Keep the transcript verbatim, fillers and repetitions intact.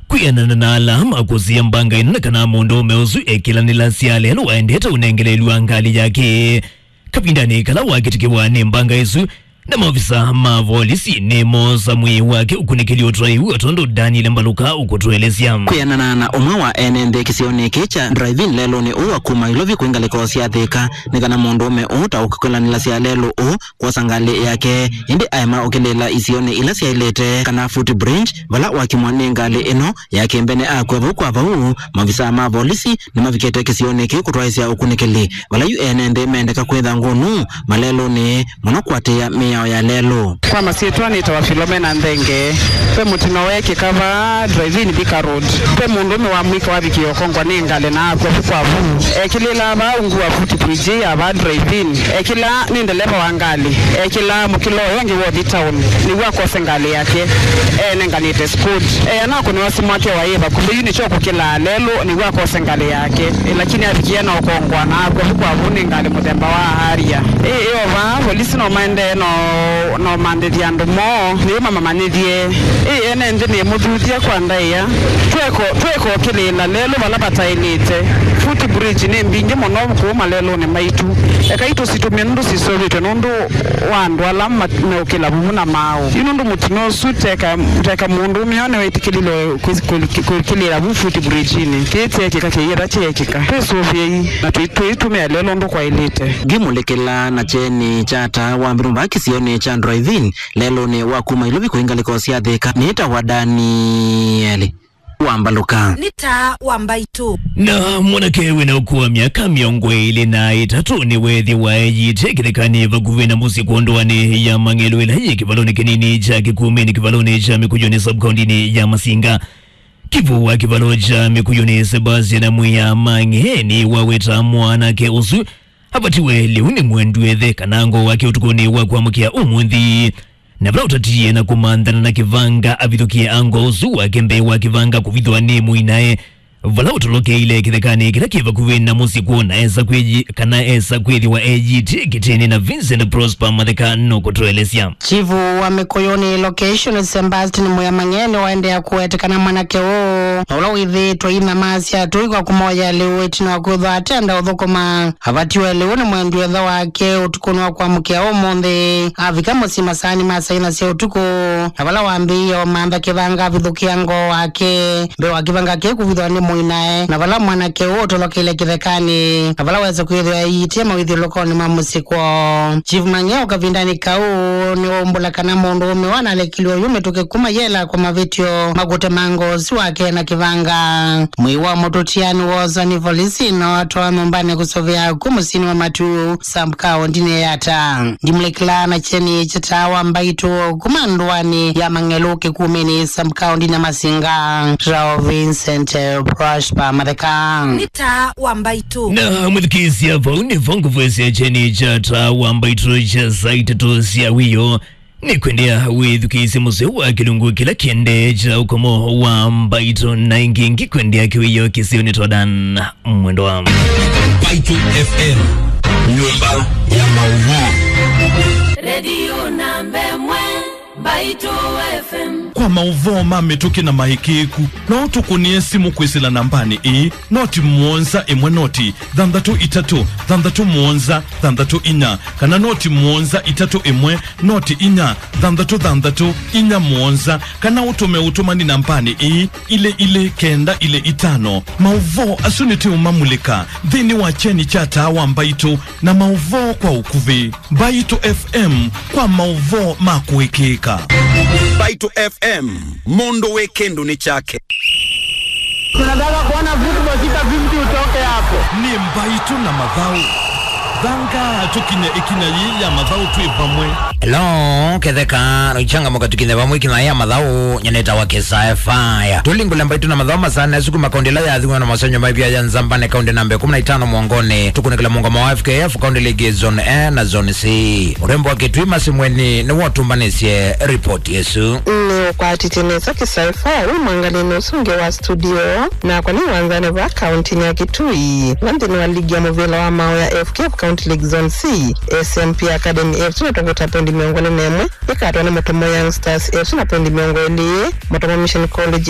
Kwĩanana na ala makũsĩĩa mbanga ĩno, nĩ kana mũndũũme ũsu ekĩlanĩlasya lelũ waendete ũnengeleelw'a ngalĩ yake. Kavindanĩ kala wakĩtĩkĩwa nĩ mbanga ĩsu, na maovisa ma volisi nĩmoosa mwĩĩ wake ũkunĩkĩlye ũtwaĩu, o tondũ Daniel Mbaluka ũkũtũelesya. Kwĩanana na ũmwe wa ene nthĩ kĩsionĩ kĩĩ kya drive-in lelũnĩ ũũ wa kuma Ilovi kwĩ ngalĩko sya Thĩka, nĩ kana mũndũũme ũũ ta ũkĩkĩlanĩlasya lelũ ũũ kwosa ngalĩ yake, ĩndĩ aema ũkĩlĩĩla isionĩ ila syaĩlĩte kana footbridge, vala wakimwa nĩ ngalĩ ĩno ya kĩmbene akw'a vau kwa vau. Mavisaa ma volisi nĩmavikĩte kĩsionĩ kĩu kũtwaĩsya ũkunĩkĩli, vala yu ene nthĩ mendeka kwĩtha ngũnũ malelũnĩ mũno kũatĩĩa mĩao ya lelũ. Kwa masyĩtwa nĩtawa Philomena Nthenge. Ve mũtino weekĩka vaa drive-in Thika Road. Ve mũndũũme wa mũika wavikie ũkongwa nĩ ngalĩ na akw'a vu kwa vu. Ekĩlĩĩla vaa ungu wa footbridge ya vaa drive-in. Ekĩlaa nĩ ndeleva wa ngalĩ. Ekĩlaa mũkĩlo ũyũ ũngĩ wa ũthi town nĩw'o akose ngalĩ yake. Eenenganĩte Scott. Eana kũnĩwa simu wake waĩ vakuvĩ, yu nĩkyo kũkĩlaa lelũ nĩw'o akose ngalĩ yake. Ĩ, lakini avikie na ũkongwa na akw'a vu kwa vu nĩ ngalĩ mũthemba wa Harrier. Ĩ, ĩ o vaa, volisi no maendee no, no mandĩthya andũ moo, nĩw'o mamamanyĩthye. Ĩ, ene nthĩ nĩmũthuthya kwa ndaĩa. Tweko, tweko kĩlĩĩla lelũ vala vataĩlĩte. Footbridge nĩ mbingĩ mũno kũu malelũnĩ maitũ. Ekai tũsitumye nũndũ sisũvĩtwe nũndũ wa andũ ala ma-, meũkĩla vuvu na maaũ. Yu nũndũ mũtino ũsu teka, teka mũndũũme ũũ nĩwĩtĩkĩlile kwĩ-, kwĩ-, kwĩkĩlĩĩla vu footbridge-inĩ. Kĩĩ kyeekĩka kĩyĩtha kyeekĩka. Twĩsũvĩei na tũi-, tũitũmĩa lelũ ũndũ kwaĩlĩte. Ngĩmũlĩkĩla na kyeni kya taa wa mbirumba kĩsionĩ kya drive-in lelũnĩ wa kuma Ilovi kũi ngalĩko sya Thĩka nĩtawa Danieli wa Mbaluka. Nĩ taa wa Mbaitũ. Na mwanake wĩna ũkũũ wa myaka mĩongo ĩlĩ na ĩtatũ nĩweethĩwa eyĩĩte kĩthekanĩ vakuvĩ na mũsyĩ kwondũanĩ ya Mang'elu ĩla yĩ kĩvalonĩ kĩnini kya Kĩkumĩnĩ, kĩvalonĩ kya Mĩkuyũnĩ, sub-kaũndĩnĩ ya Masinga. Kivũ wa kĩvalo kya Mĩkuyũnĩ, Sebastian Mwĩa Mang'e, nĩwaweta mwanake ũsu avatiwe lĩu nĩ mwendw'ethe kana ngoo wake ũtukũnĩ wa kwamũkĩa ũmũnthĩ. Na vala ũtatiie na kũmanthana na kĩvanga, avithũkie ango ũsu wake mbee wa kĩvanga kũvithwa nĩ mũinae, vala ũtolokeile kĩthekanĩ kĩla kĩ vakuvĩ na mũsyĩ kwoo, na esa kwĩyi-, kana esa kwĩthĩwa eyĩĩtye kĩtĩnĩ, na Vincent Prosper Matheka nũkũtũelesya. Chifu wa Mĩkuyũnĩ location, Sebastian Mwĩa Mang'e, nĩwaendea kũweteka na mwanake ũũ, na ũla wĩthĩĩtwe inyamasya tũi kwa kũmoya lĩu ĩtina wa kwĩthwa atenda ũthũkũma. Avatiwe lĩu nĩ mwendw'ethe wake ũtukũnĩ wa kwamũkĩa ũmũnthĩ. Avika mũsyĩ masaanĩ ma saa inya sya ũtukũ, na vala wambĩĩe ũmantha kĩvanga avithũkĩa ngoo wake mbee wa kĩvanga kĩu kũvithwa nĩ mũinae, na vala mwanake ũũ ũtolokeile kĩthekanĩ, na vala wesa kwĩthĩwa eyĩĩtye mawĩthyũlũkonĩ ma mũsyĩ kwoo. Chief Mang'e o kavindanĩ kau nĩwaumbũla kana mũndũũme ũũ analekilwe oyu mĩtũkĩ kuma yela kwa mavĩtyo ma kũtema ngoo ũsu wake na kĩvanga. Mwĩĩ wa mũtũtia nĩwoosa nĩ volisi na watwawa nyũmbanĩ kũsũvĩa kũ mũsyĩnĩ wa Matu, sub-kaũndĩnĩ ya Yatta. Ndimulekela na kyeni kya taa wa Mbaitũ kuma ndũanĩ ya Mang'elu Kĩkumĩnĩ, sub-kaũndĩnĩ ya Masinga, Rao Vincent Prosper Matheka. Nĩ taa wa Mbaitũ. Na mwĩthukĩĩsya, vau nĩvo ngũvwesya kyeni kya taa wa Mbaitũ kya saa itatũ sya wĩoo. Nĩkwendea wĩthukĩĩsye mũseo wa kĩlungu kĩla kĩendee kya ũkomo wa Mbaitũ, na ĩngĩ ngĩkwendea kĩwĩoo kĩseo nĩ twadan mwendo wa Mbaitũ F M, nyũmba ya maũvoo. Redio namba ĩmwe, Mbaitũ F M. Kwa maũvoo ma mĩtũkĩ na maĩkĩĩku, no ũtũkũnĩe simũ kwĩsĩla nambanĩ ĩĩ, noti mũonza ĩmwe noti thanthatũ itatũ thanthatũ mũonza thanthatũ inya, kana noti mũonza itatũ ĩmwe noti inya thanthatũ thanthatũ inya mũonza, kana ũtũme ũtũmani nambanĩ ĩĩ, ilĩ ilĩ kenda ilĩ itano. Maũvoo asu nĩtũũmamulĩka nthĩnĩ wa kyeni kya taa wa Mbaitũ na maũvoo kwa ũkuvĩ. Mbaitũ F M, kwa maũvoo ma kũĩkĩĩka. Mbaitũ F M, mũndũ wĩ kĩndũnĩ kyake. Tunataka kuona football sita fifty utoke hapo. Nĩ Mbaitũ na Mathaũ. Thanga tũkinye ĩkinya yĩĩ ya Mathaũ twĩ vamwe. Hello, ketheka, noichangamuka tũkinye vamwe ĩkinya yĩĩ ya Mathaũ, nyaneta wa Kĩsae Fire. Tũlingũle Mbaitũ na Mathaũ masaanĩ asu kuma kaũndĩ ĩla yathingwa na masenyo maivia ya Nzambane, kaũndĩ namba ĩkũmi na itano mwongonĩ. Tũkunĩkĩla mũngamo wa F K F, kaũndĩ ligi zone A na zone C. Ũrembo wa Kĩtui Masimweni nĩwatũmbanĩsye ripoti ĩsu. Nĩũkwatĩtye nesa Kĩsae Fire wĩ mwangalĩnĩ ũsu ũngĩ wa studio, nakwa nĩ wanzanĩ va kaũntĩnĩ ya Kitui, va nthĩnĩ wa ligi ya mũvĩla wa maũ ya F K F County League Zone C. S M P Academy F C nĩtongete na poindi mĩongo ĩlĩ na ĩmwe, ĩkatwa nĩ Mũtomo Young Stars F C na poindi mĩongo ĩlĩ, Mũtomo Mission College